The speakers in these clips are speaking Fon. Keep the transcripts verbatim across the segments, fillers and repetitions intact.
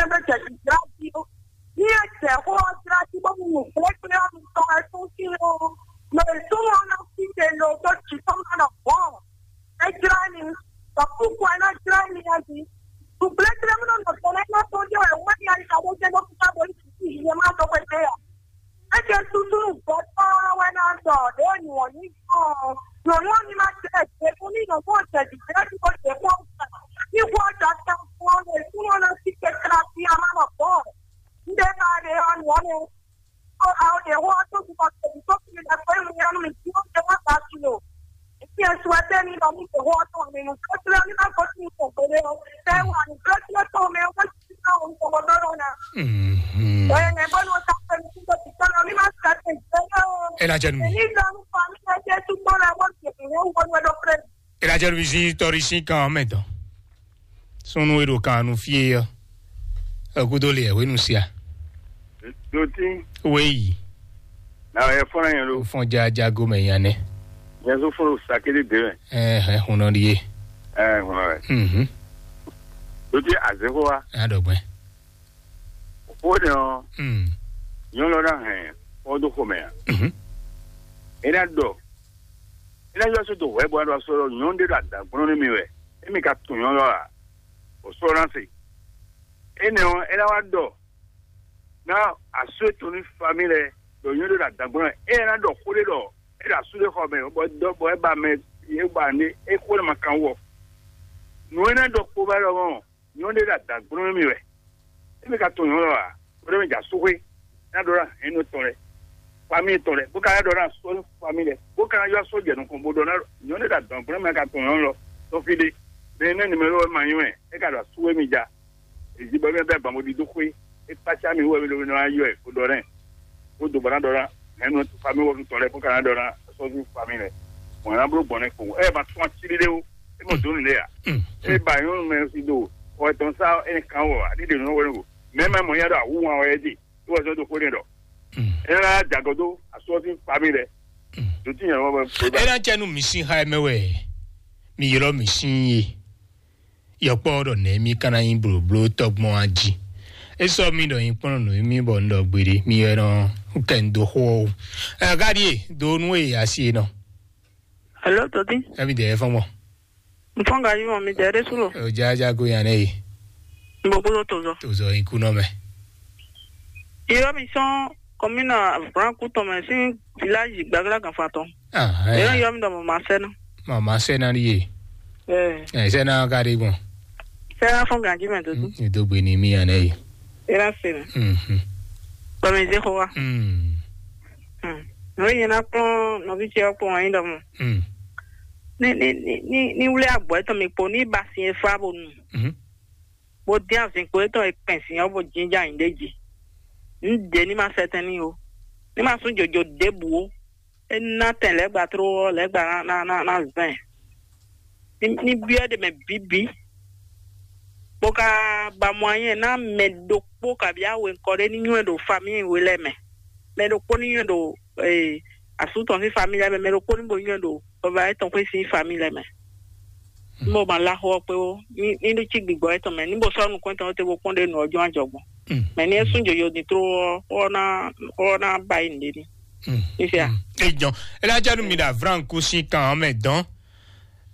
Ɛ bɛ jɛ jǐ jlá jí ó. Ní ɛ jɛ xó ɔ́ jlá jí bó mu nǔgblégbé ɔ́ mi tɔn ɛ tún sín ó. Mɛ e súnmọ́ ɔ́ ná sí te lo dó jǐ tɔn ná nɔ gbɔn. É jlá ní. Bɔ kúkú ɛ ná jlá ní ɛ jí. Nǔgblégbé mú nɔ nɔ tɔn ɛ ná tɔn jẹ́ ɛ wɛ́ ní ayika bó jẹ́ bó fífá bó ní sí ìyẹn má dó xwé dé ɔ. É jẹ́ súsú nǔgbó tɔn wɛ ná dɔ ɖě nyɔ̌ ní gbɔn. Nyɔ̌nu ɔ́ ní má jẹ́ ɛ jɛ fún ní nyɔ̌nu ɔ́ jɛ jǐ jẹ́ ní kó jɛ kó ní kó jɔ tán fún ɔ́ lè súnmọ́ ná sí kɛkɛlá sí amá nɔ gbɔn. Ndé ka ɖe ɔ́ nǔ ɔ́ nɛ. Ó a ó ɖe hó ɔ́ tó bí kɔ tɛ̀lé tó fi lɛ pé mi ɔ́ mi tí ó jẹ wá ba kilo. Fi ẹ̀ sùn ẹtẹ́ mi lɔ mi tẹ̀ hó ɔ́ tó mi nù. Kó tilẹ̀ mi má kó tún mi tẹ̀ gbélé ɔ́. Tẹ́ wà ní kó tilẹ̀ tó mi ó kó tilẹ̀ tó mi tẹ̀ gbọ́dọ̀ lọ náà. Mhm. Ẹ̀ ẹ̀ bọ́ ní o ta pẹ̀lú tí mo ti tọ́ lọ mi má sùn ẹtẹ́ ìgbélé o. Ela jẹ nu mi. Èyí lọ ń fa mi ẹgbẹ́ tó gbọ́ lọ wọ́n ti fi wọ́n wọ́n wọ́n lọ pẹ̀lú. Ela jẹ nu mi sí tɔrí sí kan mẹ́tọ́. Súnnu e ɖo kan nu fí e ɔ́, ɛ gúdo le ɛ hwenu sia. Dotí, Wéyi, na ɛ fɔ́n yẹn lo. Fɔn jajago mɛ nya nɛ. Yẹn tó fɔ́n lo sakele dé mɛ. Ɛ hɛ hun nɔ ɖi ye. Ɛ hun nɔ rɛ. Mhm. Dotí azexo wa. A ɖɔ gbɛ. O de ɔn. Mm. Nyɔnu lɔ na hɛn kɔ do xomɛ a. Mhm. E na dɔ. E na yɔ so do hwɛ bɔ a dɔ sɔ nyɔnu de do adagblɔn ne mi wɛ. E mi ka tun nyɔnu lɔ a. O sɔ na se. Enɛ ɔ́, é ná wá ɖɔ ná asú e tɔn ní fami lɛ́ɛ ɖɔ nyɔ̌ ɖé ɖo adǎgbɔ́ ɛ, é ná ɖɔ xó ɖé ɖɔ é ɖo asú ɖé xɔ mɛ, bɔ dɔ bɔ é ba mɛ é ba ne é xó ɖé ma kan wɔ. Nǔ e ná ɖɔ kpo ba ɖɔ mɔ nyɔ̌ ɖé ɖo adǎgbɔ́ mɛ wɛ. É mɛ ka tɔn nyɔ̌ lɔ a? Bó ɖé mɛ jɛ asúxwé ná ɖɔ ɖo hɛ̌nnu tɔn lɛ́ɛ, fami tɔn lɛ́ɛ, bó ka ná ɖɔ ná sɔ́ fami lɛ́ɛ, bó ka ná yɔ sɔ́ jɛ nukɔn bó ɖɔ ná nyɔ̌ ɖé ɖo adǎgbɔ́ mɛ ka tɔn nyɔ̌ lɔ tɔn fí ɖé. Mɛ nɛ́ nimɛlo wɛ ma nyí wɛ, é ka ɖo asúxwé mi ja. Èyí bɔ mɛ bɛ gbɔn bó ɖi dó xwé, é kpácá mi wɛ mi ɖo mi nɔ yɔ ɛ kó ɖɔ nɛ, kó do bɔ ná ɖɔ ná hɛn nɔ fami wɔ tɔn lɛ kó ka ná ɖɔ ná sɔ́ fí fami lɛ. Mɔ̌ ná bló gbɔn nɛ kpo, ɛ ma tún atílí ɖé ó, é mɔ dó nìɖé à. É ba nyɔnu mɛ si do xɔ tɔn sá, é kan wɔ àdídè nɔ wɛ nɔ. Mɛ mɛ mɔ ya ɖo awú wan wɛ dì, é wɔ sɔ́ dó xwé nɛ ɖɔ. É ná jagɔ dó asɔ́ fí fami lɛ. Dotí nyɛ wɔ bɛ. É ná cɛ nú mi sín xá ɛ mɛ wɛ, mi ylɔ́ mi sín ye. Yɔkpɔ́ ɖɔ nɛ̌ mì ka ná nyí blǒbló tɔ́gbɔn a jí? É sɔ́ mì ɖɔ nyí kplɔ́n nǔ mì bɔ un ɖɔ gbeɖé, mi wɛ nɔ kɛ un dó xó ɔ́ ó. Ɛ, Gáɖíe, do nú e asi e nɔ. Alo, Tɔ́tín. Ɛ́ mi dɛ ɛ fɔ́n gbɔn. Un fɔ́n gají mɔ mi dɛ ɖésú lo. Ɛ, o já já go nya nɛ e. Un bo bolo tozɔ. Tozɔ nyi kú nɔ mɛ. Irɔ mi sɔn kɔmina Franku tɔn mɛ sín viláji gbɛglá ganfa tɔn. Ah, Ɛ ɛ. Yɔ mi ɖɔ mɔ ma sɛ na. Mama sɛ na ɖi ye. Ɛ. Ɛ sɛ na ka ɖi gbɔn. Sɛ na fɔn gají mɛ dodo. Ní dó gbe ní mí anɛ yi. Ɛ na se na. Mhm. Bɔ mi zé xɔ wa. Mm. Hmm. Nɔ yẹn na kplɔn nɔvi cɛ kpɔn anyi ɖɔ mɔ. Mm. Ní ní ní ní ní wlé agbɔ etɔn mi kpo ní ba sin e fa bo nu. Mhm. Bó dín azǐnkpo étɔn e kpɛn sin ɔ́ bó jínjɔ́n ayǐ ɖé jí. Un ɖě ní ma sɛtɛn n'i ó. Ní ma sú jǒjǒ ɖěbǔ ó. É ná tɛn lɛ̌gbà tló ɔ́, lɛ̌gbà ná ná ná ná zɛn. Ní ní byɔ́ ɖe mɛ bǐbí. Bó ka ba mɔ anyɛ ná mɛ ɖokpó kabí awe ŋkɔ ɖé ní nywɛ́ ɖo famíi we lɛ́ɛ mɛ. Mɛ ɖokpó ní nywɛ́ ɖo ee, asú tɔn sín famíi lɛ́ɛ mɛ, mɛ ɖokpó ní bo nywɛ́ ɖo vɔvɔ etɔn xwé sín famíi lɛ́ɛ mɛ. Ní bo ma lá xó ɔ́ kpé ó, ní ní ɖó cí gbigbɔ etɔn mɛ, ní bo sɔ́ nukún etɔn te bó kpɔ́n ɖe nǔ ɔ́ jɔ́n ajɔgbɔn. Mɛ ní é sún jojo din tló ɔ́, xó ɔ́ ná xó ɔ́ ná ba yi nǔɖé ní. Fifia. Ejɔn, elájá nu mi ɖo avranku sín kan ɔ́ mɛ dɔn.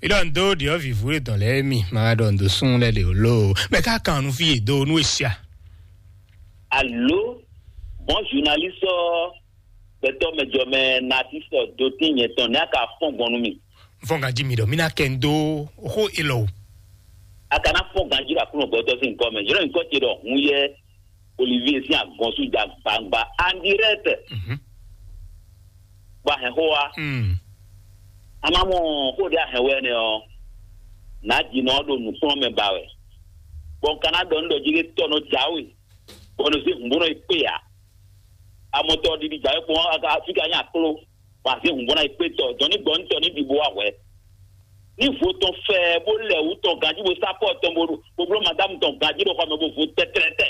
Ilɔ ndo ɖiɔ vivu ɖe dɔn lɛ mi ma ɖɔ ndo sun lɛ le lo. Mɛ ka kan nu fi do nu esia. Alo, bon journaliste ɔ, gbɛtɔ mɛ jɔ mɛ nati sɔ do tin nyɛ tɔn ne aka fɔn gbɔn nu mi. Fɔn ka ji mi ɖɔ mi na kɛ ndo xo ilɔ o. Aka na fɔn ganji ɖo aklúnɔ gbɛtɔ sín nukɔ mɛ, yɔrɔ nukɔ ce ɖɔ hun yɛ Olivier sín agɔn sú ja gbangba en direct. Mhm. Bɔ ahɛn xó wa. Mm. A ma mɔ xó ɖé ahɛn wɛ nɛ ɔ, nà jì nɔ ɖo nǔkplɔ́n mɛ ba wɛ. Bɔn ka ná ɖɔ nú ɖɔ jí ɖé tɔ nɔ jǎwe, bɔ nɔ zé hǔn bó nɔ yi kpé ǎ. Amɔtɔ ɖiɖi jǎwe kpɔn aka fika nyí akló, bɔ azé hǔn bó ná yi kpé tɔ, dɔn ní gbɔ nú tɔ ní ɖi bó wá hwɛ. Ní vo tɔn fɛ bó lɛ wǔ tɔn ganjí bó sá pɔ tɔn bó bó bló madámu tɔn ganjí ɖo xɔ mɛ bó vo tɛtlɛtɛ.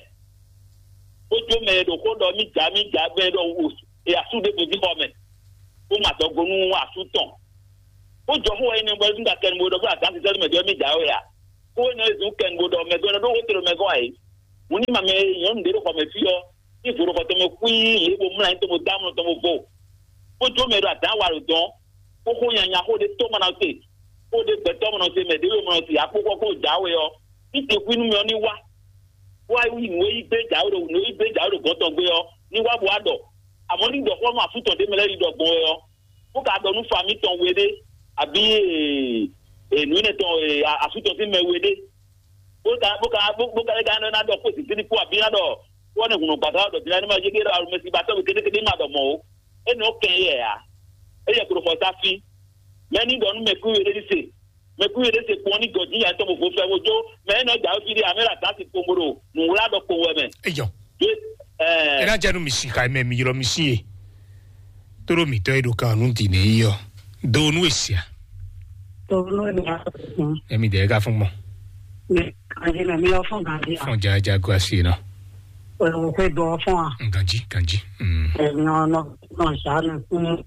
Bó jó mɛ e ɖo xó ɖɔ mí jà mí jà gbɛ ɖɔ wò e asú ɖé bó jí xɔ mɛ. Bó ma dɔgo nú asú tɔn. Bó jɔ xó wɛ nyí nɛ bɔ é zún ɖa kɛnugbo ɖɔ bó adǎn sísɛ́ mɛ ɖɔ mí jà wɛ a? Xó énɛ́ e zún kɛnugbo ɖɔ mɛ gɔ́ ɖó xó te ɖo mɛ gɔ́ ǎ é. Hǔn ní ma mɛ e nyɔ̌nu ɖě ɖo xɔ mɛ fí ɔ́, ní vodúnxɔ tɔn mɛ xwíí yě bo mlá nyí tɔn bo dó amlɔ tɔn bo vo, bó jó mɛ ɖo adǎn wa ɖo dɔn, bó xó nyanya xó ɖé tó ma ná se, xó ɖé gbɛtɔ́ ma ná se, mɛ ɖě ma ná se, akpókpɔ́ kpó jǎwe ɔ́, ní te xwí nú mɛ ɔ́ ní wá, wá yi nǔ e yí gbé jǎwe ɖo nǔ e yí gbé jǎwe ɖo gɔ̌n tɔn gbé ɔ́ ní wá bo wá ɖɔ. Àmọ́ ní ɖɔ xó nú afúntɔn ɖé mɛ lɛ́ɛ yi ɖɔ gbɔn wɛ ɔ́, bó ka ɖɔ nú fa mǐtɔn we ɖé, abǐ nǔ énɛ́ tɔn asú tɔn sín mɛ we ɖé, bó ka bó ka bó ka lɛ́ ka ná ɖɔ kpó sǐsílí kpó abǐ ná ɖɔ kpó ɔ́ nɛ hǔn nɔ gbàgbá ɖɔ dǐndá ní ma yé ɖé ɖɔ alomɛsí ba tɔ́ we kéɖékéɖé ma ɖɔ mɔ̌ ó. É nɔ kɛn yɛ ǎ. É yɛ klo xɔ sá fí. Mɛ ní ɖɔ nú mɛ kú we ɖé ní se. Mɛ kú we ɖé se kpɔn ní gɔ̌ dín yà tɔn bó fó fɛ bó jó. Mɛ é nɔ jǎwe fí ɖé amɛ ɖo adǎsi kpombo ɖo nǔwlá ɖɔ kpowun wɛ mɛ. Eyɔ. Ɖé, ɛ, Ena jɛ nu mi si xa mɛ mi ylɔ mi si ye. Toro mi tɔ e ɖo kan nu di ne yi yɔ. Do nu esia. Toro nu esia. Emi de ka fún mɔ. Mɛ kanji mɛ mi lɔ fún ganji. Fún ja ja go asi na. Ɛ o fɛ dɔ fún a. Ganji ganji. Mm. Ɛ nɔ nɔ nɔ sa nɔ fún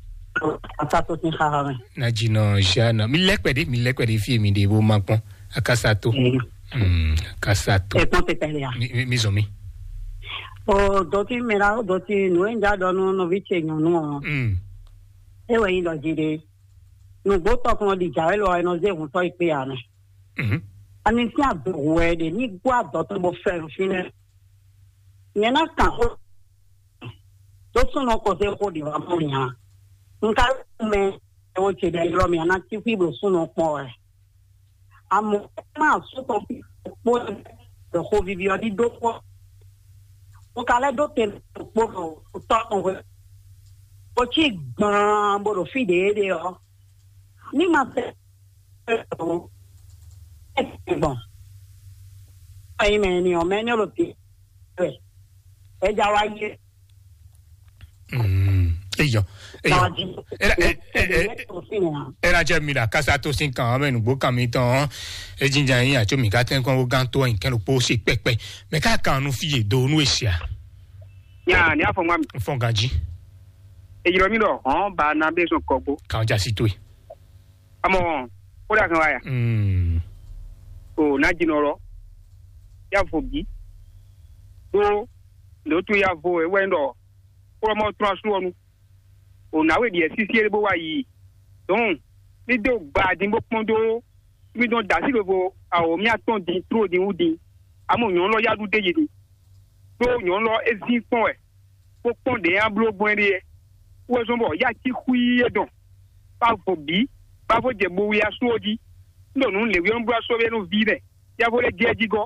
ata to sin xa mɛ. Na ji nɔ ja nɔ mi lɛkpɛ de mi lɛkpɛ de fi mi de bo ma kpɔn. Akasato. Mm. Mm, akasato. Ẹ kpɔn tɛtɛ le ya. Mi mi mi zɔn mi. O dɔti mɛ la o dɔti nu e n ja dɔ nu nɔvi ce nyɔnu ɔ. Mm. E wɛ yin dɔ ji de. Nugbo tɔkun ɔ di ja wɛ lɔ ɛ nɔ ze hun tɔ yi kpe ya mɛ. Mhm. Ani sin ado hu wɛ de ni gbɔ adɔ tɔn bo fɛ nu fi nɛ. Nyɛ na kan xó. Tó súnnu kɔsɛ́ xó ɖě wá mɔ nya. Un ka mɛ ɛwɔ ce ɖe ylɔ́ mì a ná cí xwí ɖo súnnu kpɔ́n wɛ. Amɔ̌ má sú tɔn kpó ɖo xó vivi ɔ́ ɖíɖó kpɔ́. Un ka lɛ́ ɖó te kpó ɖo tɔ́ tɔn hwe. Bó cí gbaan bó ɖo fí ɖě ɖe ɔ́. Ní ma tɛ gbɔn. Ayi mɛ ni ɔ́ mɛ ní ɔ́ ɖo te. Ɛ ja wá yé. Mm, eyɔ eyɔ. Era era era jẹ mi la kasa to sin kan ame nugbo kan mi tɔn. Ejinja yin atso mi ka tɛn kɔn wo gan to yin kɛn lo po si pɛpɛ. Mɛ ka kan nu fi ye do nu esia. Nya ni afɔ ŋwa mi. Fɔn ganji. Ejirɔ mi dɔ hɔn ba na be sɔn kɔgbo. Kan ja si to yi. Amɔ, kódà kan wáyà. Mm. O ná jinɔ lɔ. Yá vo bí. Ɖó lǒtu yá vo ewɛ ɖɔ kplɔ́mɔ trɔ́n asú ɔ́ nu. O nǎwe ɖiɛ sísí é bó wá yi. Dɔn ní dó gba dín bó kpɔ́n dó mí dɔn da sí vovo awǒ mí atɔn din tró din wú din. Amɔ nyɔ̌nu lɔ yá ɖu d'é yi din. Ɖó nyɔ̌nu lɔ é zín kpɔ́n wɛ. Bó kpɔ́n ɖě nyi bló gbɔn ɖe é. Wɛ zɔn bɔ yá cí xwíí é dɔn. Bá vo bǐ, bá vo jɛ bo wi asú ɔ́ jí. Un ɖɔ nǔ lěwí ɔ́ un bló asú ɔ́ nú ví mɛ, yá vo lɛ́ jɛ jí gɔ́.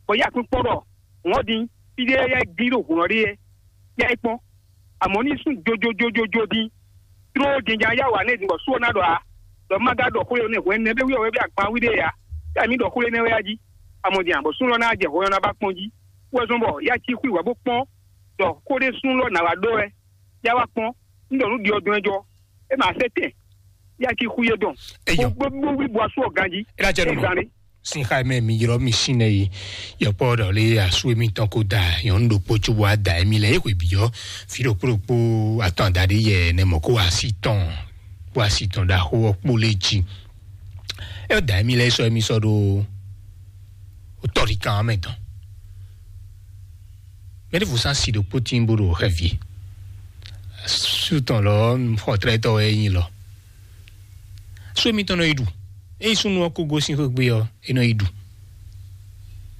Bɔ yá kpín kpɔ́n ɖɔ hǔn ɔ́ din, fí ɖé yá gblí ɖo hǔn ɔ́ ɖe é. Yá é kpɔ́n. Àmọ́ ní sún jojojojojo din. Tló jɛnjɛn yá wǎ nɛ́ din bɔ sú ɔ́ ná ɖɔ ǎ. Ɖɔ má gá ɖɔ xwé ɔ́ nɛ́ hwɛ̌n nɛ́ ɖé wí ɔ́ wɛ bí agban wí ɖé ǎ. Yá mǐ ɖɔ xwé énɛ́ wɛ yá jí. Àmọ́ din àbọ̀ sú lɔ ná jɛ hɔn ɔ́ ná bá kpɔ́n jí. Wɛ zɔn bɔ yá cí xwí wǎ bó kpɔ́n. Ɖɔ xó ɖé sún lɔ nǎ wá ɖó wɛ. Yá wá kpɔ́n, un ɖɔ nǔ ɖi ɔ́ dɔn ɛ jɔ, é ma sɛ́ tɛn, yá cí xú yé dɔn. Eyɔ. Bó bó wí bó asú ɔ̀gán jí. É ná jɛ nú mi. Zan ɖé. Sin xa mɛ mi ylɔ mi sin nɛ yi. Yɔkpɔ ɖɔ lé asu mi tɔn ko da yɔn ɖo kpo tso wa da mi lɛ e xwe bi yɔ. Fi ɖo kpo ɖo kpo atɔn da ɖe yɛ nɛ mɔ ko asi tɔn. Ko asi tɔn da xo ɔ kpo lé jí. E da mi lɛ sɔ mi sɔ ɖo. O tɔ ɖi kan mɛ tɔn. Mɛ ɖěvo sán si ɖokpó tín bó ɖo xɛvie. Sú tɔn lɔ xɔtlɛ́tɔ́ wɛ é nyí lɔ. Sú émítɔn nɔ yi ɖu. Ényí súnnu ɔ́ kó gosín xwé gbe ɔ́, é nɔ yi ɖu.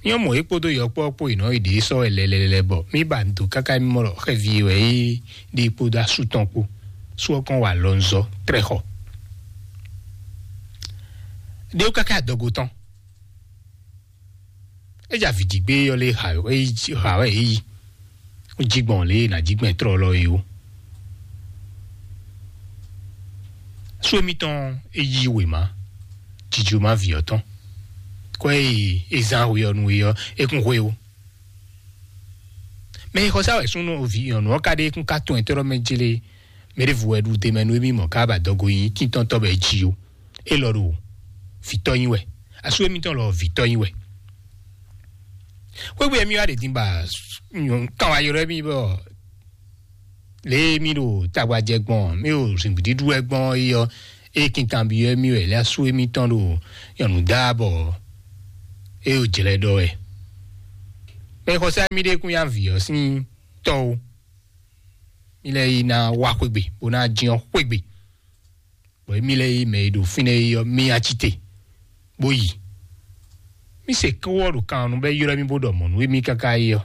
Nyɔ́ mɔ é kpódó yɔkpɔ́ kpó yi nɔ yi ɖě sɔ́ wɛ lɛlɛlɛ bɔ mí ba do káká mí mɔ ɖɔ xɛvie wɛ é ɖe kpódó asú tɔn kpó. Sú ɔ́ kɔn wa lɔnzɔ́ trɛ́ xɔ. Ɖé wú káká adɔgo tɔn. É dza vǐ jí gbé ɔ́ lé ha wɛ é yi. Jí gbɔn lě e è nǎ jí gbɛn tlɔ́ lɔ é ó. Sú émítɔn é yí wěma jijloma vǐ ɔ́ tɔn. Kɔ é yi é zán hwe ɔ́ nú é ɔ́, é kún hwe ó. Mɛ e xɔ sá wɛ súnnu vǐ nyɔ̌nu ɔ́ ka ɖe é kún ka tɔn ɛ tɔ́ mɛ jlé. Mɛ ɖěvo wɛ ɖu te mɛ nú émí mɔ ká ba dɔgo nyi tíntɔ́ntɔ́ bɔ é jí ó. Élɔ́ ɖo vǐtɔ́ nyi wɛ. Asú émítɔn lɔ vǐtɔ́ nyi wɛ. Xwégbé mí wá ɖe din ba kan wá ylɔ́ mì bɔ lě e mí ɖo tagbajɛ gbɔn mí ɖo zǐngbíɖíɖú wɛ gbɔn é ɔ́, é kinkan byɔ́ mì wɛ lě asú émítɔn ɖo nyɔ̌nu dá bɔ é ɖo jlɛ́ ɖɔ wɛ. Mɛ xɔsá mi ɖe kún ya vǐ ɔ́ sín tɔ́ o. Mi lɛ yi ná wá xwegbe, bó ná jin ɔ́ xwegbe. Bɔ émí lɛ́ɛ yí mɛ e ɖo fínɛ́ é ɔ́, mí ya cí te, bó yi. Mí se kówɔ ɖo kan ɔ́ nu bɔ é ylɔ́ mì bó ɖɔ mɔ̌ nú émí káká é ɔ́.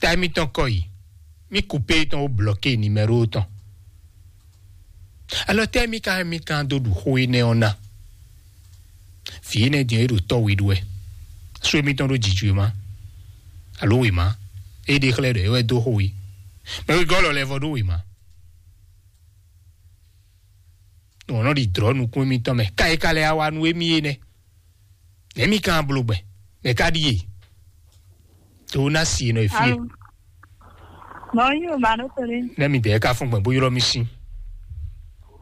Ta émítɔn kɔ yi, mí kupé tɔn ó blɔké nimɛ́ro tɔn. Alɔ tɛ́ mí ka mí kan dó ɖu xó énɛ́ ɔ́ ná? Vǐ énɛ́ din é ɖo tɔ́ we ɖu wɛ. Sú émítɔn ɖó jǐjǔ e má, alo wěma, é ɖe xlɛ́ ɖɔ é wɛ dó xó we. Mɛ wegɔ́ lɔ lɛ́ vɔ ɖó wěma. Nɔ nɔ ɖi drɔ̌ nukún émítɔn mɛ. Ka e ka lɛ wá nú émí é nɛ́? Nɛ̌ mi ka bló gbɛn? Nɛ̌ ka ɖíe? Tó ná si nɔ e fí e. Alo. Mɔ yí o ba ɖo tole. Nɛ́ mi dɛɛ ka fún gbɛn bó ylɔ́ mi sín?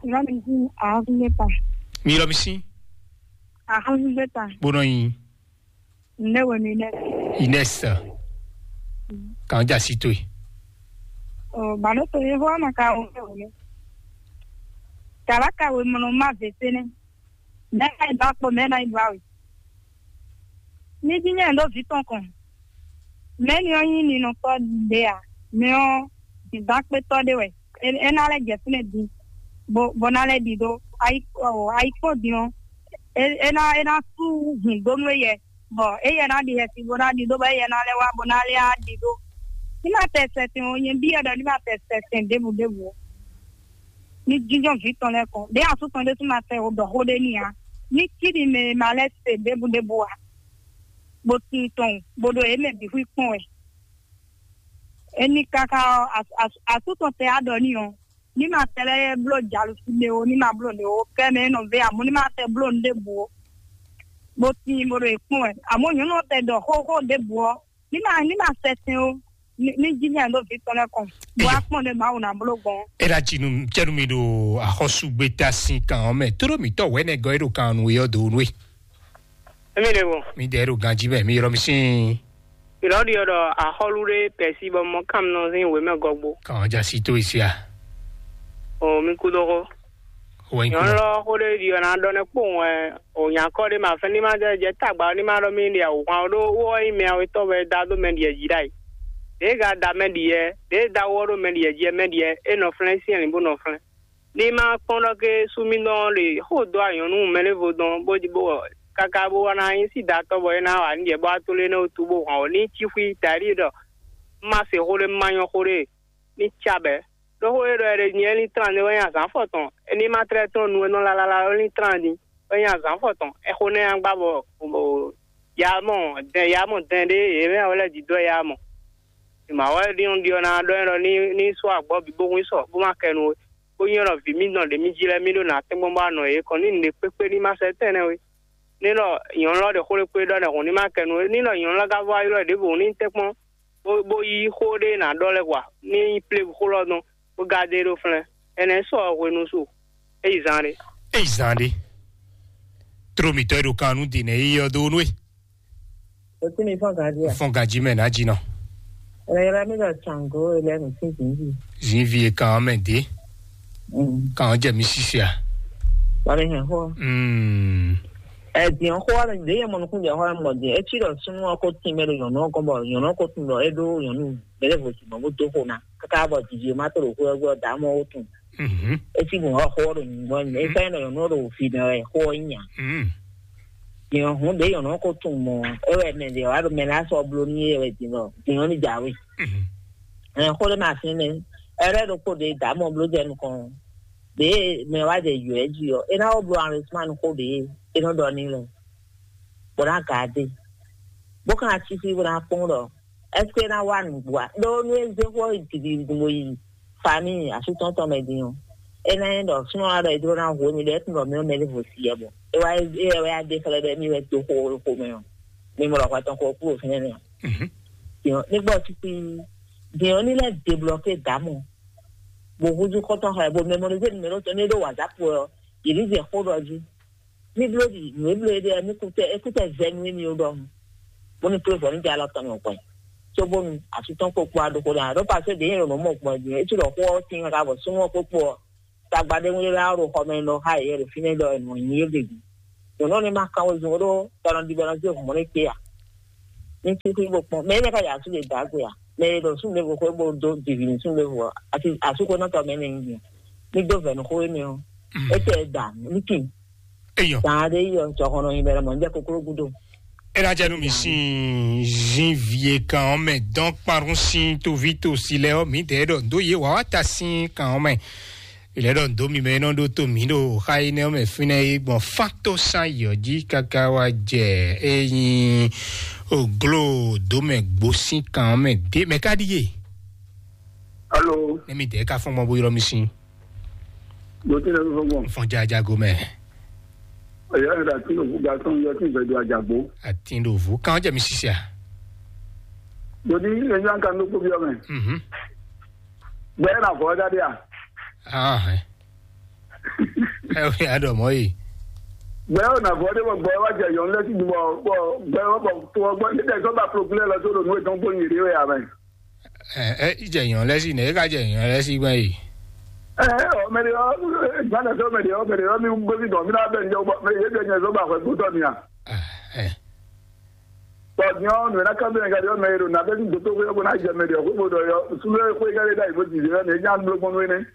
Ylɔ́ mi sín ahɔ́súgbéta. Mi ylɔ́ mi sín? Ahɔ́súgbéta. Bó nɔ nyi. Nde wɛ mi nɛ? Ines. Kan ja si to yi. O ba ɖo tole xó ama ka o nde wɛ mi. Kaba ka we mɔnɔ ma ve se nɛ. Mɛ na yi ba kpɔ mɛ na yi ba we. Mi ji nyɛ ɖo vi tɔn kɔn. Mɛ ni ɔ nyi ni nɔ kɔ ɖe a? Mɛ ɔ dǐndán kpétɔ́ ɖé wɛ. É ná lɛ́ jɛ fínɛ́ din, bó bó ná lɛ́ ɖidó. Ayikpɔ́ din ɔ́, é ná é ná sú hǔn dó nú éyɛ, bɔ éyɛ ná ɖi xɛsi bó ná ɖidó, bɔ éyɛ ná lɛ́ wá bó ná lɛ́ á ɖidó. Ní ma tɛ sɛsɛn o, nyɛ byɔ́ ɖɔ ní ma tɛ sɛsɛn ɖěbǔ ɖěbǔ o. Ní jínjɔ́n vǐ tɔn lɛ́ɛ kɔn, ɖěe asú tɔn ɖésú ma tɛ o ɖɔ xó ɖé n'i ǎ. Ní cí ɖi mɛ e ma lɛ́ se ɖěbǔ ɖěbǔ ǎ, bó tin tɔn, bó ɖo yě mɛ bǐ xwí kpɔ́n wɛ. É ní káká ɔ́, asú tɔn tɛ á ɖɔ n'i ɔ́, ní ma tɛ lɛ́ bló jalǔsi ɖe o, ní ma bló ɖe o, kɛ mɛ é nɔ vé amɔ̌ ní ma tɛ bló nǔ ɖěbǔ o, bó tíin bó ɖo yě kpɔ́n wɛ. Amɔ̌ nyɔ̌nu ɔ́ tɛ ɖɔ xóxó ɖěbǔ ɔ́, ní ma ní ma sɛ tɛn o, ní jí ní àndó vǐ tɔn lɛ́ɛ kɔn, bó wá kpɔ́n ɖě Mawu ná bló gbɔn. É ɖa jinu cɛnu mi ɖo axɔ́súgbéta sín kan ɔ́ mɛ, tóɖó mǐtɔn wɛ̌nɛgɔ́ é ɖo kan nú é ɔ́ dǒ nú é. Émi ɖe vo. Mi dɛ ɖo ganjí mɛ, mi ylɔ́ mi sín. Ìlɔ ɖi ɔ́ ɖɔ axɔ́lú ɖé pɛ̌si bɔ mɔ kánmlɔ sín wěmɛ gɔgbo. Kàn já sí tó ìsí a? O mi kú dó xó. Wọ́n ń kú. Nyɔ̌nu lɔ xó ɖé ɖi ɔ́ ná ɖɔ nɛ́ kpowun wɛ o nyakɔ ɖé ma fɛn ní ma jɛ jɛ tagba ɔ́ ní ma ɖɔ mì ɖi awǔhwan ɔ́ ɖó wó ɔ́ nyí mɛ awetɔ́ wɛ da dó mɛ ɖiɛ jí ɖ'ayǐ. Ɖěe ga da mɛ ɖiɛ, ɖěe da wó ɔ́ ɖó mɛ ɖiɛ jí ɛ mɛ ɖiɛ é nɔ flɛ́n syɛ́nlǐn bó nɔ flɛ́n. Ní ma kpɔ́n ɖɔ ké súmínɔ ɖe xó dó anyɔ̌nu mɛɖěvo dɔn bó bó káká bó wá ná nyí sídatɔ́ bɔ é ná wa nǔ jɛ bó wá tló énɛ́ wútu bó hɔn ɔ́ ní cí xwí taɖíe ɖɔ má se xó ɖé má nyɔ́ xó ɖé ní cá bɛ̌. Ɖó xó e ɖɔ è ɖe nyɛ é ní tlán ɖé wɛ nyí azǎn fɔtɔn, é ní ma tlɛ́ tɔ́n nu e nɔ lalala wɛ ní tlán din wɛ nyí azǎn fɔtɔn. Ɛxó nɛ́ nya gbá bɔ ya mɔ dɛn ya mɔ dɛn ɖé yě mɛ wɛ lɛ́ dǐdó wɛ ya mɔ. Mawɛ ɖi ɖɔ ná ɖɔ ɛ ɖɔ ní ní sú agbɔ́ bǐ bó hun sɔ bó má kɛ nu we. Bó nyí ɖɔ vǐ mì nɔ ɖě mì jí lɛ́ɛ mì ɖo nǎ tɛ́ngbɔ́n bó wá nɔ yě kɔn ní nǔɖé kpékpé ní ma sɛ́ tɛ́nnɛ we. Ní ɖɔ nyɔ̌nu lɔ ɖe xó ɖé kpé ɖɔ nɛ hǔn ní ma kɛ nu we. Ní ɖɔ nyɔ̌nu lɔ ka vɔ ylɔ́ ɖěbǔ ní tɛ́nkpɔ́n bó bó yí xó ɖé ná ɖɔ lɛ́ɛ wa ní nyí plé xó lɔ dɔn bó ga dé ɖó flɛ́n. Ɛnɛ sɔ hwenu su é yi zan ɖé. É yi zan ɖé. Tró mǐtɔn e ɖo kan nú din nɛ é yi ɔ́ dó nú é. Etí mi fɔ́n gǎn jí a? Fɔ́n gǎn jí mɛ ná jí nɔ. Ẹ̀rọ yẹra mi lọ ṣàngó ilẹ̀ mi sí zìnzì. Zìnvi e kan mɛ dé. Kan jẹ mi sisi a? Wọ́n mi hàn xó. Mm. Ẹ̀dìn xó wa mi dé yẹ mọ̀nùkún jẹ xó wa mọ̀ dé. Etí lọ súnmọ́ ọkọ̀ tì mẹ́ lọ yọ̀nà ọkọ̀ bọ̀ yọ̀nà ọkọ̀ tì lọ é dó yọ̀nù bẹ́lẹ̀ bò sì mọ̀ bó dó xó na. Kaka bɔ didi ma to ɖo xó ɛgbɛ dǎ mɔ wó tun. Mhm. Esi mo xɔ xó ɖo nyugbɔ nyugbɔ. Esa yɛn nɔ nyɔnu ɖo fi nɔ wɛ xó nya. Mm. Yɔn hun ɖe yɔn nɔ ko tun mɔ. E wɛ mɛ de wa ɖo mɛ la sɔ blo ni ye wɛ di nɔ di nɔ ni jawe. Mhm. Ɛ xó ɖe ma fi nɛ. Ɛrɛ ɖo ko de dǎ mɔ blo jɛ nukɔn. De mɛ wa de yɔ ɛ ji ɔ. E na wo blo enrichissement ko de e nɔ dɔ ni lɛ. Bó na ga de. Bó kan asisi bó na kpɔn ɖɔ. Est-ce que é ná wá nǔgbó a? Ɖó nú é zé xó yi dǐdí gbogbo yi famille asútɔ́ntɔn mɛ din ɔ́, é ná nyí ɖɔ súnɔ wá ɖɔ é jló ná hu émí ɖɔ é tún ɖɔ mí ɔ́ mɛ ní vo si yɛ bɔ é wá é wɛ wá dé xlɛ́ ɖɔ émí wɛ dó xó xó mɛ ɔ́, mi mɔ ɖɔ hwɛ tɔn xó kúrò fínɛ́ nɛ ɔ́. Mhm. Din ɔ́ ní gbɔ títí din ɔ́ ní lɛ́ débloké dǎmɔ bó húzú xɔ́ntɔn xlɛ́ bó mémorisé numéro tɔn ní ɖó WhatsApp wɛ ɔ́, yě ní zɛ xó ɖɔ jí. Mi bló ɖi nǔ e bló e ɖe ɔ́, mi kú tɛ é kú tɛ zɛ nú émi ó ɖɔhun, bónú kplé vɔ ní jɛ alɔ tɔn mɛ gbɔn. Cóbónú asú tɔn kpokpo aɖókò ná ɖó pasé ɖě nyɛ ɖo nǔ mɔ gbɔn din é cí ɖɔ xó ɔ́ tín káká bɔ súnmọ́ kpókpo ɔ́, tagba ɖé ŋu ɖé lɛ́ɛ ɖo xɔ mɛ nɔ xá yě ɖo fínɛ́ ɖɔ è nɔ nyi yé ɖe din. Nyɔ̌nu ɔ́ ní ma kán wezun ó ɖó bɔ nɔ ɖi bɔ nɔ zé hǔn mɔ n'i kpé a? ní kí xwé bó kpɔ́n. Mɛ énɛ́ ká yɛ asú ɖe dǎ gbe a? Mɛ e ɖo súnnu ɖěvo xwé bó dó dǐví nú súnnu ɖěvo ɔ́, asi asú ko nɔ tɔ mɛ nɛ nyi. Ní dó vɛ̌ nú xó énɛ́ ɔ́, é tɛ da ní kí. Eyɔ. Dǎ ɖé yi ɔ, jɔhɔn nɔ nyi bɛ lɔ mɔ, ní jɛ kokló gúdo. É ná jɛ nú mi sín zin vie kan ɔ́ mɛ dɔn kparun sín toví tosi lɛ ɔ́, mǐdɛɛ ɖɔ dó yě wǎ wá ta sín kan ɔ́ mɛ. Ilé ɖɔ ndo mi mɛ nɔ ɖó tó mi ɖo xa yi nɛ mɛ fínɛ yi gbɔn fán tó sán yɔ jí káká wá jɛ eyin oglo dó mɛ gbó sín kan mɛ dé mɛ ká ɖíe. Alo. Ne mi dɛ ka fɔn mɔ bo ylɔ mi sin. Mo ti lɛ fɔn mɔ. Fɔn jajago mɛ. Eya yɛ da ti lo fu ga sɔn yɔ ti bɛ do ajagbo. Ati ɖo vu kan jɛ mi sisi a. Mo ni eya kan do ko bi ɔmɛ. Mhm. Gbɛ na vɔ da dia. Ah. Ɛ o ya dɔ mɔ yi. Gbɛ o na vɔ de bɔ gbɛ wa jɛ yɔn lɛ ti bɔ bɔ gbɛ wa bɔ to gbɔ ne tɛ sɔ ba pro gblɛ lɔ so do nu etɔn gbɔ nyiri o ya mɛ. Ɛ ɛ ijɛ yɔn lɛ si ne e ka jɛ yɔn lɛ si gbɛ yi. Ɛ ɔ mɛ de ɔ gbana sɔ mɛ de ɔ mɛ de ɔ mi gbɛ mi dɔn mi na bɛ nyɛ bɔ mɛ ye bɛ nyɛ sɔ ba hwɛ gbɔtɔ mi a. Ɛ. Bɔ nyɔ nu na kan bɛ nyɛ ka de ɔ mɛ ye do na bɛ ni gbɔtɔ ko ko na jɛ mɛ de ɔ ko bo dɔ yɔ sulu ko ka de da yi bo di de ne nya blo gbɔn ne.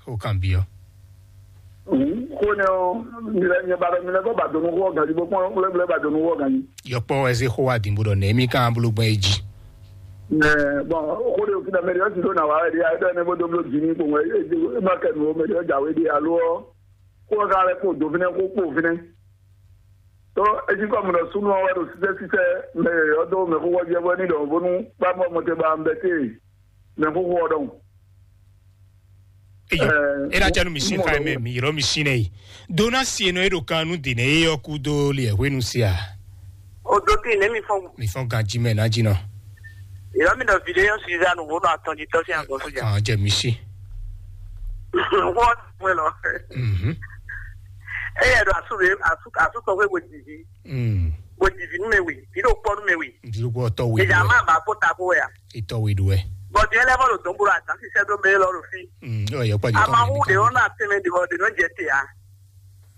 O kan bi ɔ. Xó nɛ ɔ mi lɛ nyɛ ba dɔ mi lɛ bɔ ba donu xó ɔ ganji bɔ kpɔn lɛ bɔ ba donu xó ɔ ganji. Yɔkpɔ wɛ se xó wa din bó dɔ nɛ mi kan bolo gbɛn e ji. Mɛ bɔn xó de òfin amɛ de ɔsi do na wa wɛ de ayé dɔ ne bó dó blo dzi ní kpɔn wɛ e ma kɛ nu o mɛ de ɔjà wɛ de alo ɔ xó ɔ ka lɛ kpó do fínɛ kó kpó fínɛ. Tó etí kɔ mɔ ɖɔ súnú ɔ́ wɛ ɖo sísɛ́sísɛ́ mɛ yɔ̌yɔ́ dó mɛxóxó ɔ́ jɛ bɔ é ní ɖɔ bónú kpámɔ mɔtɛn ba un bɛ́ téè mɛxóxó ɔ́ ɖɔhun. Eyi, Ɛɛ, e na janu mi sin mo xa ɖɔ mɛ wo. Mi yɔrɔ mi sin nɛ yi. Dona si enɔ e ɖo kan nu de nɛ e yɔ ku do liɛ hwenu sia. O do tin ne mi fɔn. Mi fɔn ganji mɛ na jinɔ. Yɔrɔ mi nɔ video Suzanne wo nɔ atɔn ji tɔ si agbɔn soja. Kan jɛ mi si. Wɔ wɛ lɔ. Mhm. Eye ɖo asu ɖe asu asu tɔxɛ wo didi. Mm. Wo didi nu me wi. Yi ɖo kpɔ nu me wi. Ndi ko tɔ we. Eja ma ba ko ta ko ya. Itɔ we do wɛ. Bɔn diɛ lɛ bɔ lo dɔn bolo adan sisɛ do me lɔ lo fi. Mm. Ɔ yɛ kpa di tɔ. Amahu de ɔn na tɛmɛ de ɔ de nɔ jɛ te ya.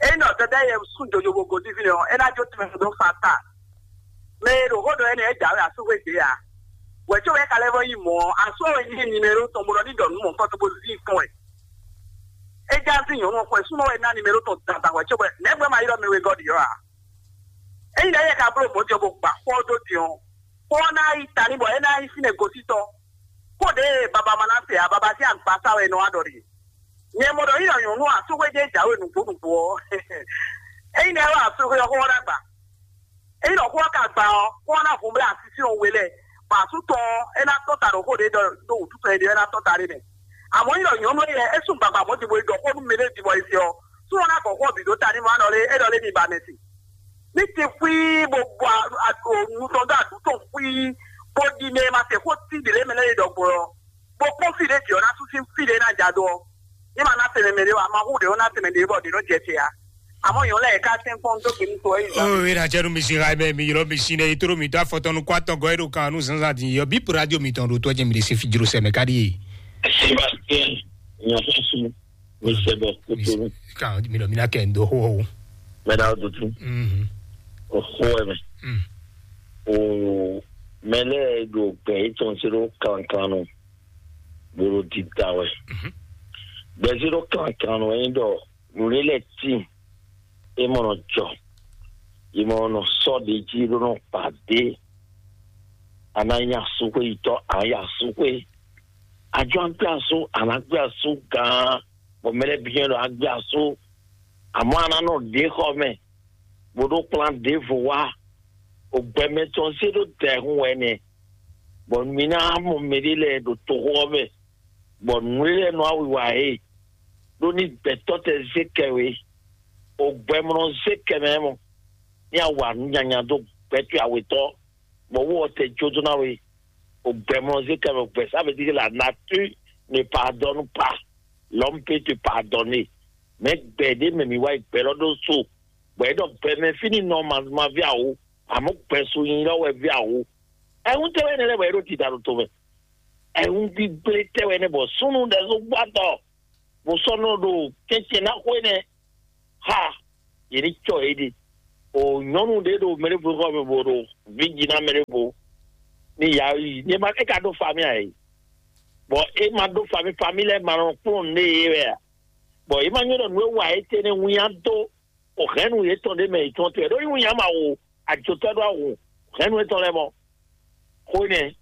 Eyi nɔ dada yɛ sun jojo bo godi fi nɛ ɔ, ena jo tɛmɛ do fa ta. Mɛ e ɖo xó ɖɔ énɛ́ é jǎwe asúxwé ɖě ǎ. Wɛ̌ có wɛ é ka lɛ́ vɔ́ nyí mɔ̌ ɔ́, asú ɔ́ wɛ nyí nimero tɔn bó nɔ ní ɖɔ nǔ mɔ̌hunkɔtɔn bó zín fún wɛ. É já zín nyɔ̌nu ɔ́ xwɛ súnɔ wɛ ná nimero tɔn dandan wɛ̌ có bɔ nɛ̌gbɛ́ ma ylɔ́ mɛ wegɔ́ ɖi ɔ́ ǎ. Ényí ɖɔ éyɛ́ ka bló mɔ̌ din ɔ́ bó gba xó ɔ́ dó din ɔ́, xó ɔ́ ná yi ta ní bɔ é ná nyí fínɛ́ gosín tɔn. Xó ɖě e baba ma ná se ǎ, baba sín agbasá wɛ è nɔ wá ɖɔ ɖe. Nyɛ mɔ ɖɔ ylɔ́ nyɔ̌nu asúxwé jɛ́n jǎwe nǔgbó nǔgbó ɔ́, ényí nɛ́ wɛ asúxwé ɔ́ xó ɔ́ ná gba. Ényí ɖɔ xó ɔ́ ka gba ɔ́, xó ɔ́ ná hun blá asísí ɔ́ we lɛ́ɛ, bɔ asú tɔn ɔ́, é ná tɔ́n ta ɖo xó ɖě ɖɔ ɖó wǔtú tɔn é ɖe ɔ́, é ná tɔ́n ta ɖé mɛ. Amɔ̌ ényí ɖɔ nyɔ̌nu énɛ́ é sú gbagba mɔ̌ din bó yi ɖɔ xó nú mɛɖé din bɔ è se ɔ́, sú ɔ́ ná gɔ xó ɔ́ bǐ ɖó ta n'i mɔ ná ɖɔ lé é ɖɔ lé mi ba mɛ se. Ní ti xwíí bó bɔ nu tɔn dó aɖǔ tɔn xwíí, bó ɖi mɛ e ma se xó tín ɖě lɛ́ɛ mɛ lɛ́ɛ é ɖɔ gbɔn ɔ́, bó kpɔ́n fí ɖě jǐ ɔ́ ná sú sín fí ɖě ná ja dó ɔ́, ní ma ná tɛnmɛ mɛ ɖé wá, ma hu ɖě ɔ́ ná tɛnmɛ ɖě bɔ ɖě nɔ jɛ te ǎ. Àmọ́ èèyàn lẹ́yìn ká sẹ́ńkpọ́n tó kìíní tó ẹ̀yìn. Oh, ena jɛnu mi si ha mɛ mi yɔrɔ mi si ne yi toro mi to afɔtɔnu kɔ atɔgɔ eɖo kan nu zanzan din yɔ bi radio mi tɔn ɖo tɔjɛ mi de se fi jro sɛ mɛ ka ɖi ye. Sébastien, nyɔfɔsu, mi sɛbɛ kuturu. Ka mi lɔ mi na kɛ ndo ho ho. Mɛ da dutu. Mhm. O ho ɛ mɛ. Mm. O mɛ lɛ do gbɛ etɔn se ɖo kankan nu. Bolo di da wɛ. Mhm. Gbɛ se ɖo kankan nu ɛyin dɔ. Nǔɖé lɛ́ɛ tíin, é mɔ nɔ jɔ, è mɔ nɔ sɔ́ ɖě jí ɖó nɔ kpa ɖě. A ná nyí asúxwéyitɔ́, a nyí asúxwé. A jɔ a gbé asú, a ná gbé asú gán, bɔ mɛ lɛ́ɛ byɔ́ ɖɔ a gbé asú. Àmọ́ a ná nɔ ɖě xɔ mɛ, bó ɖó kplán ɖěvo wá. Ògbɛmɛ tɔn zé ɖó dɛ̌hun wɛ nɛ́, bɔ mi ná mɔ mɛɖé lɛ́ɛ ɖo toxo ɔ́ mɛ, bɔ nǔ e lɛ́ɛ nɔ awiwa e ɖó ní gbɛtɔ́ tɛ zé kɛ we, o gbɛmlɔ zé kɛ mɛ mɔ, ní awa nǔ nyanya dó gbɛtɔ́ awetɔ́, bɔ wó ɔ́ tɛ jó dó ná we, o gbɛmlɔ zé kɛ mɛ, gbɛ ça veut dire que la nature ne pardonne pas, l'homme peut te pardonner, mais gbɛ ɖé mɛ mi wá yi gbɛ lɔ ɖó so, bɔ é ɖɔ gbɛ mɛ fínì nɔ ma ma ví awo, àmọ́ gbɛ so nyi lɔ wɛ ví awo, ɛhún tɛ wɛ nɛ lɛ bɔ é ɖó tita ɖo to mɛ. Ɛhún gbígbé tɛ wɛ nɛ bɔ súnnu ɖɛ zó gbá tɔ, bó sɔ́ nɔ ɖo tɛ́ntɛn ná xwé nɛ. Ha, yě ní cɔ yě ɖe. O nyɔnu ɖé ɖo mɛ ɖé vo xɔ mɛ bo ɖo vi jí ná mɛ ɖé vo ní ya yi ní ma é ka ɖó fami ayi bɔn é ma ɖó fami fami lɛ ma nɔ kplɔn nɛ yé wɛ a bɔn é ma nyɔ ɖɔ nǔ e wa é tɛnɛ wínya dó o hɛn nu yétɔn ɖé mɛ yětɔn tɔn ɖó ní wínya ma wo ajotɔ ɖó awu hɛn nu yétɔn lɛ mɔ xó nɛ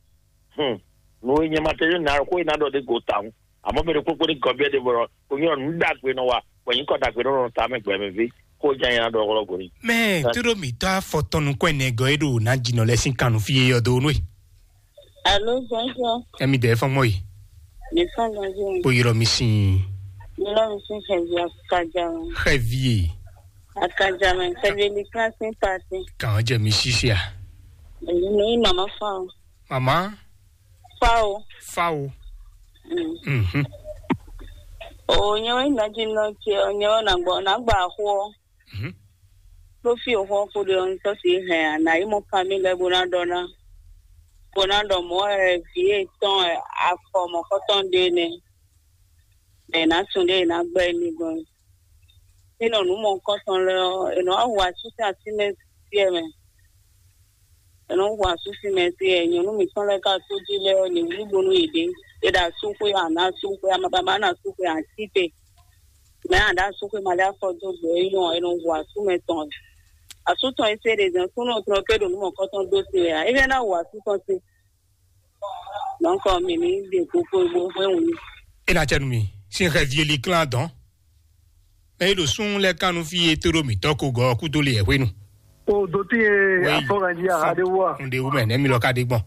hum nǔ e nyɛ ma tɛ na xó e na ɖɔ ɖé go tawun àmọ́ mɛ ɖokpó kpó ní gɔbíɛ ɖé bɔ o nyɔ nǔ ɖagbe nɔ wa bɔ nyí kɔ ɖagbe nɔ nɔ ta mɛ gbɛ mɛ ví kó jẹ́ yẹn na ɖɔ ɔlɔ goni. Mɛ tó ɖo mǐtɔ́ afɔtɔn nukɔn ɛnɛ gɔ́ é ɖo ná jinɔ lɛ sín kannú fí é yɔ dó nú é. Alo, bonjour. Emi dɛ fɔn mɔ yi. Mi fɔn bonjour. Kpo yɔrɔ mi sin. Mi lɔ mi sin xɛvi akaja. Xɛvi. Akaja mɛ xɛvi mi kan sin pati. Kàn jẹ mi sisi a. Èyí ni mama fa o. Mama. Fa o. Fa o. Mm. Mhm. O nyɛ wɛ na dzi nɔ tse o nyɛ wɛ na gbɔ na gba xo o. Mhm. Ɖó fí o xɔ kó ɖe ɔn sɔ si hɛn a na yi mɔ fami lɛ bó ná ɖɔ ná bó ná ɖɔ mɔ ɛ vi etɔn ɛ afɔ mɔ xɔtɔn ɖe nɛ. Mɛ ná sun ɖe ná gbɛ ní gbɔn. Ní nɔ nǔ mɔ kɔtɔn lɛ ɔ, è nɔ wá hu asúsɛ así mɛ sí ɛ mɛ. È nɔ hu asúsɛ mɛ sí ɛ nyɔ̌nu mǐtɔn lɛ́ɛ ká tó jí lɛ́ɛ ɔ́, ní wlí bónú yě ɖe. É ɖo asúxwé a nǎ asúxwé a ma ba ma nɔ asúxwé a cí te. Mɛ a ɖo asúxwé ma lɛ́ afɔ dó gbɛ é nyɔ́ ɔ́, è nɔ hu asú mɛ tɔn. Asú tɔn e se ɖe zɛn súnnu tɔn ké ɖo nǔ mɔ̌kɔtɔn dó se wɛ a? É fɛ́ ná hu asú tɔn se. Donc mi ní ɖe kókó bó hwɛ́ wǔ. É ná cɛ nú mi sín xɛ vieli klán dɔn. Mɛ é ɖo sún lɛ́ kan nú fí e tó ɖo mǐtɔn ko gɔ́ kúdó le yɛ hwenu. O do tí e afɔganji aha ɖé wú a? Un ɖe wú mɛ nɛ́ mi lɔ ka ɖe gbɔn.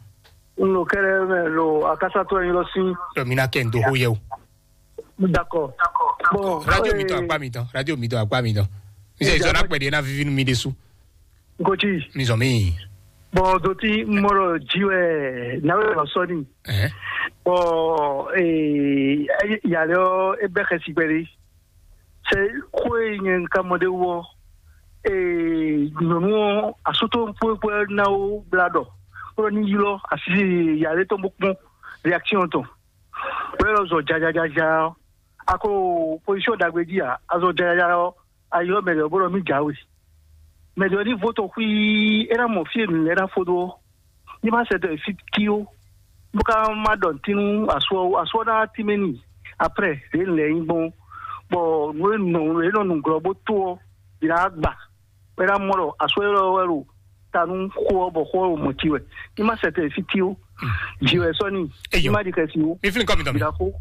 Un lo kɛlɛ mɛ lo akásátɔ yin lɔ sí. Ɖɔ mi ná kɛ n do xó yɛ o. D'accord. Bon, radio mi tɔn akpa mi tɔn radio mi tɔn akpa mi tɔn. Mi sɛ ìsɔ náà pẹ̀lú ẹ̀ náà fífi nú mi ɖé sú. Nkoji. Mi zɔn mi. Bon, do tí mɔlɔ jí wɛ náwó lɔ sɔni. Ɛhɛn. Bon, ee, yàrá ɔ ebɛ xɛ si gbɛli. Sɛ xó e nyɛ ka mɔ ɖé wɔ. Ee, nyɔnu ɔ asútó kpókpó náwó bla dɔ. Kpɔlɔ ní ylɔ asi yàrá tɔn bó kpɔn réaction tɔn. Bẹ́ẹ̀ lọ zɔ jajajaja ɔ. Ako position dagbe jí a, azɔ jajaja ɔ. Ayɔ mɛ ɖɔ bó ɖɔ mí jǎwe. Mɛ ɖɔ ní vo tɔn xwí é ná mɔ fí e nǔ lɛ́ɛ ná fó dó ɔ́. Ní má sɛ dɔ fí kí ó. Bó ká má ɖɔ ntínú asú ɔ́ asú ɔ́ ná tímɛ n'i. Après ɖě lɛ nyí gbɔn bɔ nǔ e nɔ nǔ e nɔ nǔglɔ́ bó tó ɔ́, è nǎ gba. Bɔ é ná mɔ ɖɔ asú élɔ́ wɛ ɖo ta nú xó ɔ́ bɔ xó ɔ́ ɖo mɔ̌ cí wɛ. Ní má sɛ tɛ fí tí ó. Jǐ wɛ sɔ́ n'i. Ní má ɖi xɛsi ó. Mi flin kɔ mi tɔ mi. Bìlà xó.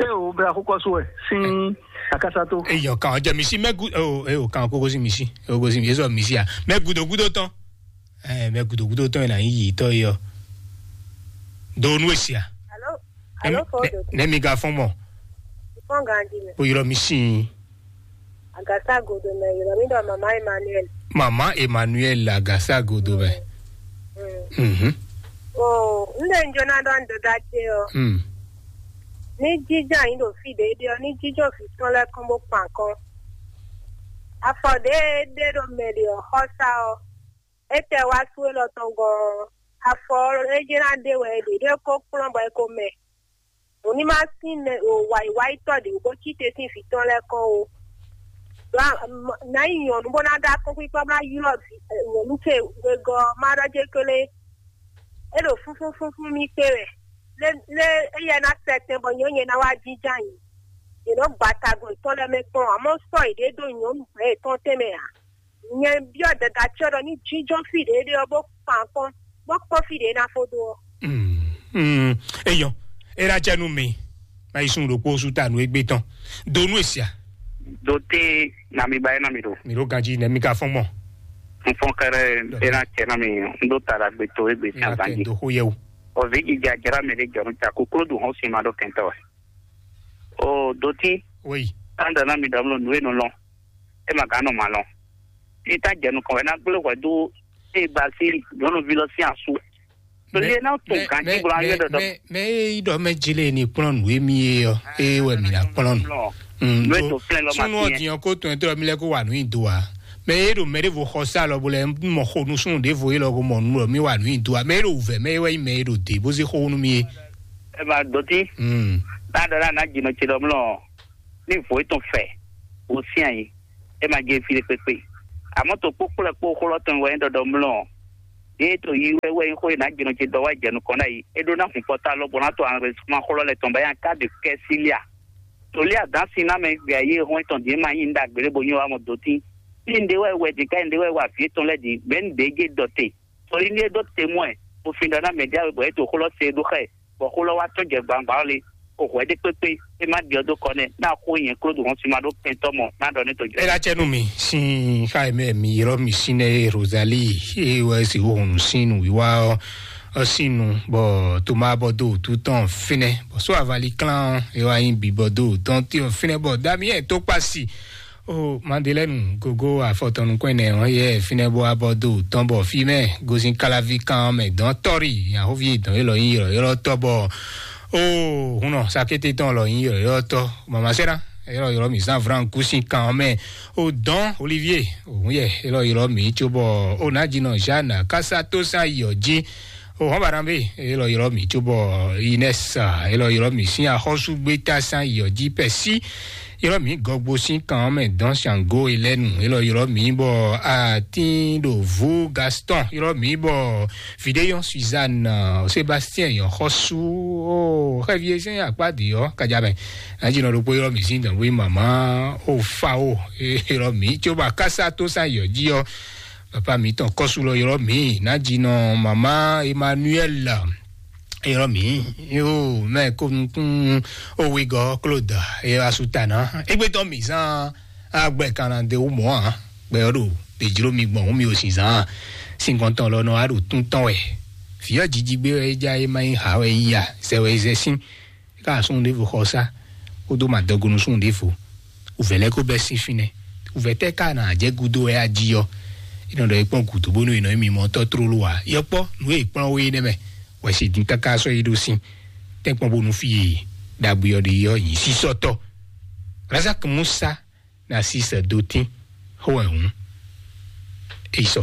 É o bla xó kɔsó wɛ sín akásá tó. Eyɔ kan jɛ mi si mɛ gu o e o kan kókó si mi si kókó si mi e sɔ mi si a mɛ gudo gudo tɔn. Ɛ mɛ gudo gudo tɔn yɛ na yi yi tɔ yɔ. Do nu esi a. Alo, alo, fo do. Ne mi ga fɔn mɔ. Fɔn ganji mɛ. O yɔrɔ mi si. Agasa godo mɛ yɔrɔ mi dɔ mama Emmanuel. Mama Emmanuel agasa godo mɛ. Mhm. O n de n jona dɔ n dɔda ce o. Mm. Ní jíjá yín ɖo fí ɖě ɖe ɔ́, ní jíjó vǐ tɔn lɛ́ɛ kɔn bó kpan kɔn. Afɔ ɖě ɖé ɖo mɛ ɖe ɔ́, xɔ́sá ɔ́, é tɛ wá sú élɔ́ tɔn gɔ́ ɔ́, afɔ ɔ́, é jɛ ná ɖe wɛ é ɖe ɖé kó kplɔ́n bɔ é ko mɛ. Nǔ ní má sín mɛ o wǎyíwáyítɔ́ ɖě bó cí te sín vǐ tɔn lɛ́ɛ kɔn ó. Nǎ yi nyɔ̌nu bó ná ɖó akɔ́nkpíkpɔ́ bó ná ylɔ́ vǐ nyɔ̌nu ce wegɔ́ ɔ́, má ɖɔ jé kélé. É ɖo fúnfúnfúnfún mì kpé wɛ. Lé lé éyɛ́ ná sɛtɛn bɔ nyɔ̌nyɛ ná wá jínjɔ́n ayǐ. Yě nɔ́ gba tagun yětɔn lɛ́ɛ mɛ kpɔ́n, amɔ̌ sɔ́ yěɖée ɖó nyɔ̌nu hwɛ̌ yětɔn tɛnmɛ ǎ. Nyɛ byɔ́ dada cyɔ ɖɔ ní jínjɔ́n fí ɖě ɖe ɔ́ bó kpan kpɔ́n, bó kpɔ́n fí ɖě ná fó dó ɔ́. Mm, mm, eyɔ, é ná jɛ nú mi. Má yi sun ɖokpó sú ta nú égbé tɔn. Do nú èsì a? Do té na mi ba é na mi ɖo. Mi ɖo ganjí nɛ mi ka fɔn mɔ. N fɔn kɛrɛ é ná cɛ na mi n ɖo ta ɖagbe to égbé Mi sín ná kɛ agbanjí. N do xó yɛ o. Ɔvi jija jara mɛ ɖe jɔnu ta ko klo ɖu hɔn sin ma ɖo kɛntɔ wɛ. O do tí. Oui. Tanda na mi ɖɔ mlɔ nǔ e nɔ lɔn. E ma gán nɔ ma lɔn. Ní tá jɛ nukɔn wɛ ná gblé hwɛ dó e ba sí nyɔnuvi lɔ sín asú. Tolí e ná tó gán jí gblɔ ayé dɔdɔ. Mɛ mɛ e yi ɖɔ mɛ jele ni kplɔn nǔ emi ye ɔ eye wɛ mi na kplɔn nǔ. Nú ètò flɛ́ lɔ ma Súnú tiɲɛ. Ọ̀dìyàn kó tún ẹ̀tọ́ mi lẹ́kọ́ wà nù ìdó wa. Mɛ e ɖo mɛ ɖevo xɔ sá lɔ bo lɛ mɔ xo nu súnú ɖevo ye lɔ ko mɔ nù lɔ mi wà nù ìdó wa. Mɛ e ɖo wǔvɛ mɛ e wɛ yi mɛ e ɖo dě bó zé xó nu mi ye. Ẹ máa dɔtí. Mm. Náà dɔ náà ná jìnnà ce lɔ mlɔ ní vǒ ètò fɛ wò sí àyè. Ẹ máa jẹ fi lè pépé. Amɔ̌ to kpó kplɔ́ kpó xó lɔ tɔn wɛ nyí ɖɔɖɔ mlɔ. Yě to yi wɛ wɛ nyí xó e nǎ jɛnɔ ce dɔ wá jɛ nukɔn ná yi. É ɖó ná hun pɔ́tá lɔ bɔ ná to anrɛsman xó lɔ lɛ tɔn bá yá ká de kɛ́ sílíà. Tolí adǎn sin ná mɛ gbɛ ayé hɔn tɔn dě ma nyí ɖagbe lé bo nyí wa mɔ dó tín. Ní un ɖe wɛ wɛ dě ká un ɖe wɛ wa vǐ tɔn lɛ́ɛ dě bɛ́ un ɖě gé dɔ te. Tolí ní é ɖó temwɛ, bo fin ɖɔ ná mɛ ɖé awe bɔ é to xó lɔ se ɖó xɛ, bɔ xó lɔ wá tɔ́n jɛ gbangba ɔ́ lé. O hwɛ ɖé kpékpé, é má ɖiɔ dó kɔ nɛ́, ná xó nyɛ klódó hɔn sin ma ɖó kɛntɔ́ mɔ ná ɖɔ ní to jɛ. Ela cɛ nú mi sin xa e mɛ mi ylɔ́ mi sín nɛ́ e Rosalie e wɛ si wó hɔn nǔ sín nǔwiwa ɔ́ ɔ́ sín nu, bɔ Toma bɔ dó wǔtu tɔn fínɛ́, bɔ só avali klán ɔ́ e wá nyí bǐ bɔ dó wǔtɔn tɔn fínɛ́, bɔ Damiyɛn tó kpasi o Madelɛnu gogo afɔtɔn nukɔn ɛnɛ ɔ́ yɛ fínɛ́ bó wá bɔ dó wǔtɔn, bɔ fí mɛ gosín káláví kan ɔ́ mɛ dɔn tɔ́rì ahoví dɔn élɔ́ nyí ylɔ̌ylɔ́tɔ́, bɔ o hunnɔ sakété tɔn lɔ nyí ylɔ̌ylɔ́tɔ́, mama sɛ́ra élɔ́ ylɔ́ mǐ zán vrán kú sín kan ɔ́ mɛ. O dɔn Olivier òun yɛ élɔ́ ylɔ́ mǐ cóbɔ o nǎjínɔ Jeanne kásátósá yɔ jí. O hɔn barambé élɔ́ ylɔ́ mǐ cóbɔ Inès élɔ́ ylɔ́ mǐ sín axɔ́súgbétá sán yɔ jí pɛsí. Ylɔ́ mǐ gɔgbo sín kan ɔ́ mɛ dɔn Sango Elɛnu élɔ́ ylɔ́ mǐ bɔ atín ɖo vú Gaston ylɔ́ mǐ bɔ Vidéyon Suzanne, Sébastien yɔn xɔsú o xɛvi sɛn akpá di ɔ kadza mɛ. Anjinɔ ɖokpó ylɔ́ mǐ sín dɔn wí mama o fa o ylɔ́ mǐ tso ba kásá tó sán yɔ jí ɔ. Papa mǐtɔn kɔsú lɔ ylɔ́ mǐ, nájinɔ mama Emmanuel ylɔ́ mǐ, yo mɛ ko nukún owegɔ Claude asuta ná. Égbé tɔn mǐ zán agbɛ kan ná de wú mɔ̌ ǎ. Gbɛ ɔ́ ɖo ɖe jló mi gbɔn hǔn mi o sin zán. Sinkɔntɔn lɔ nɔ wá ɖo tún tɔn wɛ. Vǐ ɔ́ jiji gbé wɛ é já é má nyí hǎ wɛ é yí a, zɛ wɛ é zɛ sín. É ka súnnu ɖěvo xɔ sá, kódó madɔgonu súnnu ɖěvo. Wǔvɛ́ lɛ́ɛ ko bɛ́ sín fínɛ́. Wǔvɛ́ tɛ́ ka nɔ ajɛ gúdo wɛ a jí ɔ́? É nɔ ɖɔ é kpɔ́n gǔdo bónú è nɔ nyí mimɔtɔ́ tlóló ǎ. Yɔkpɔ́ nǔ e è kplɔ́n we é nɛ́ mɛ, wɛ si din káká sɔ́ yi ɖó sín. Tɛ́nkpɔ́n bónú fí e ɖagbe ɔ́ ɖe ɔ́ nyi sísɔ́tɔ́. Razak Musa na sísɛ dó tín xó wɛ hǔn. É yi sɔ.